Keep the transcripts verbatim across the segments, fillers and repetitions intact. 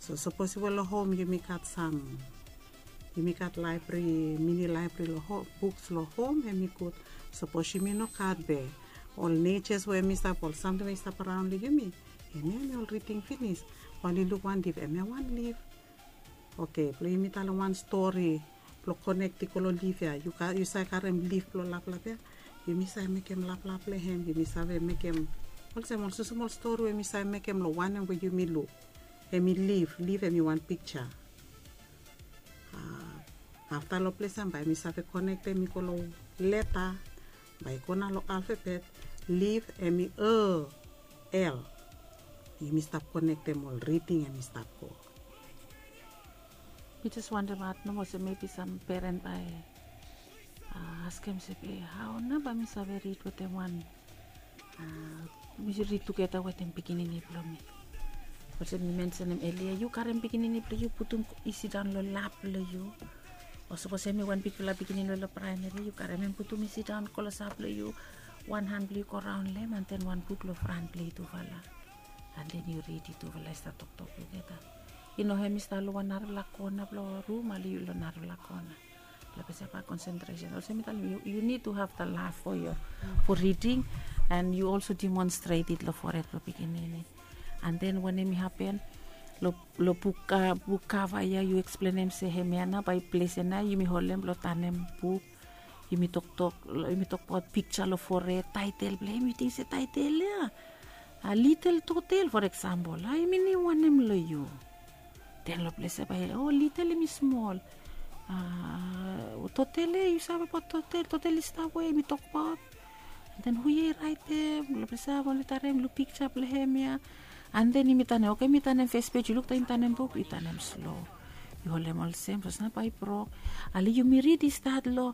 So sapos we long hom yumi gat sam, yumi gat laebri, mini laebri long hom, buks long hom, hem i gud. Sapos yumi no gat be ol nejas we hem i stap, ol samting we i stap araon long yumi, hemia hem i ol riding finis. Oli luk wan lif, hemia wan lif. Oke, blong yumi talem wan stori blong konek i go long lif ya. Yu save karem lif blong laplap ya. Yumi save mekem laplap long hem. Yumi save mekem olsem ol smosmol stori we yumi save mekem long wanem we yumi luk. Hem i lif, lif hem i wan piksa. Afta long ples ya bae yumi save konektem i go long leta, bae i go nao long alfabet. Lif hem i l. Yumi stap konektem ol riding hem i stap go. Mi jes wondem at nomo olsem mebi sam peren bae askem se be hao nao bae mi save rid wetem wan, mi rid tugeta wetem pikinini blong mi. Olsem mi mensenem elia, yu karem pikinini blong yu putum i sidaon long lap blong yu. O sapos hem i wan bigfala pikinini we long praemeri, yu karem hem putum i sidaon klosap long yu, wan han blong yu go raon long hem, an den wan buk long fran blong yu tufala. An den yu rid, yu tufala i stap toktok tugeta. I no hem i stap long wan narafala kona blong rum, ale yu long narafala kona. Blong pesa bae konsentresen. Olsem mi talem yu, yu nid tu have the love for your, for reading, and yu also demonstrate it long fored blong pikinini. An den wanem i hapen long, long buk, buk kava ya, yu eksplenem se hemia nao bae ples ya nao yumi holem blong tanem buk. Yumi toktok, yumi tokbaot piksa long fored, taetel blong hem, yu ting se taetel ya, a litel totel, for eksempel, a hem i niu wanem long yu? Den long ples ya bae, o, litel hem i smol. A totel ya, yu save abaot totel? Totel i stap we yumi tokbaot. Den hu ya i raetem? Long ples ya bae oli talem luk piksa blong hem ya. An den yumi tanem, oke, yumi tanem fes pej, yu luk taem yumi tanem buk, yu tanem slo. Yu holem olsem, sapos nao bae i brok. Ale yumi rid i stat long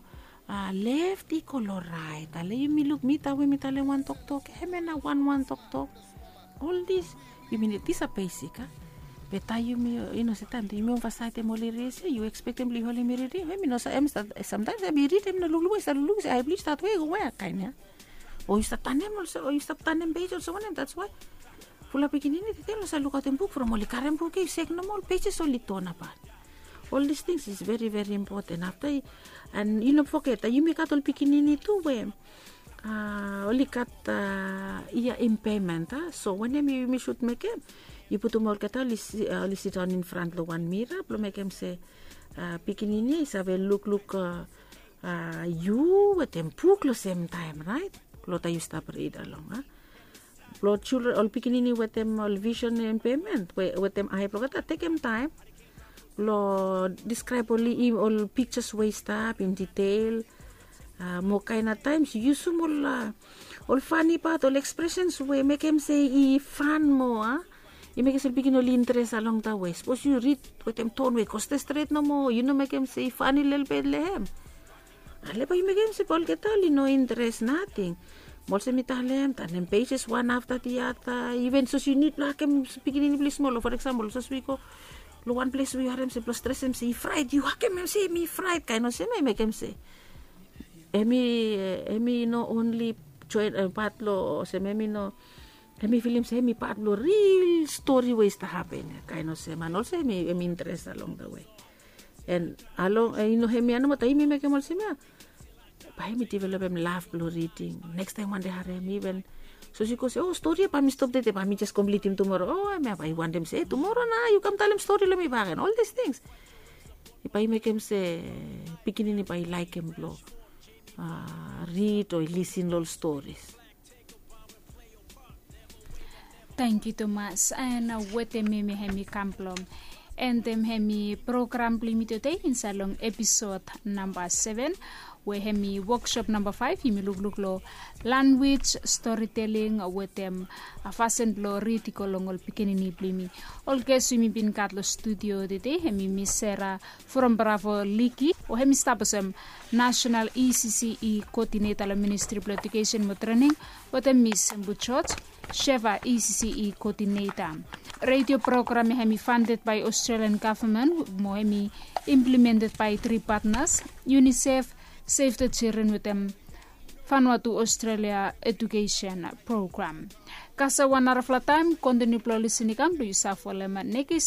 left i go long raet. Ale yumi luk, mi taem we mi talem wan toktok, hemia nao wan wan toktok. Ol dis, yumi nid, dis a besik, a. Be taem yumi, yu no se taem yumi ovasaetem ol eria ya, yu ekspektem blong yu holem i riding, hem i no sa, hem i stap, samtaem hem i rid, hem i no lukluk we, i stap lukluk se ae blong yu i stat we, go we, kaen ya. O yu stap tanem olsem, o yu stap tanem pej olsem wanem, that's why fulap pikinini tede oli no save lukaotem buk from oli karem buk ya, yu sek nomo, ol pejes oli tonap. All these things is very, very important. Afta, and yu no foget, yumi gat ol pikinini tu we oli gat ia impairment, a. So wanem yumi sud mekem, yu putum olgeta oli sidaon in front long wan mira blong mekem se pikinini i save lukluk yu wetem buk long semtaem, raet? Long taem yu stap rid along, a. Blong children, ol pikinini wetem ol vision impairment, wetem ae blong olgeta, tekem taem blong describe ol, ol pictures we i stap in detail. Mo kaen a times yusum ol, ol funny part, ol expressions we mekem se i fun moa, a. I mekem se ol pikinini oli interes along that way. Sapos yu rid wetem tone we i go stret stret nomo, yu no mekem se i funny lelebet long hem, ale bae yu mekem se bae olgeta oli no interes nating. Mo olsem mi talem, tanem pages wan afta the other. Even sapos yu nid blong hakem pikinini blong yu smol, o for example, sapos wi go long wan ples we yu harem se blong stresem se i fraet, yu hakem hem se hem i fraet, kaen olsem ya i mekem se hem i, hem i no only joen, pat long olsem, hem i no, hem i filim se hem i pat blong ril stori we i stap hapen ya, kaen olsem. And also hem i, hem i interes along the way. And along, i no, hemia nomo, taem yumi mekem olsem ya, bae hem i developem love blong reading. Nekis taem wande harem, even sapos yu go se, o, stori ya bae mi stop tede, bae mi jes komplitim tumoro. O, hemia bae i wantem se, e, tumoro nao yu kam talem stori long mi bak, and all these things. Bae i mekem se pikinini bae i laekem blong rid o i lisin long ol stories. Tangkiu tumas. And wetem hemia hem i kam blong endem hemi program blong yumi tede insaed long episod namba seven, we hemi woksop namba faef, yumi lukluk long lanwis, storiteling wetem fasin blong rid i go long ol pikinini blong yumi. Ol ges we yumi bin gat long studio tede hemi Miss Sarah from Bravo Liki, we hemi stap olsem National E C C E Coordinator long Ministry blong Education mo Training, wetem Miss Embu George, Sheva E C C E Coordinator. Radio program ya hemi funded by Australian Government mo hemi implemented by three partners, UNICEF, Save the Children wetem Vanuatu Australia Education Program. Kasem wan narafala taem, kontiniu blong lisin i kam blong yu save folem nekis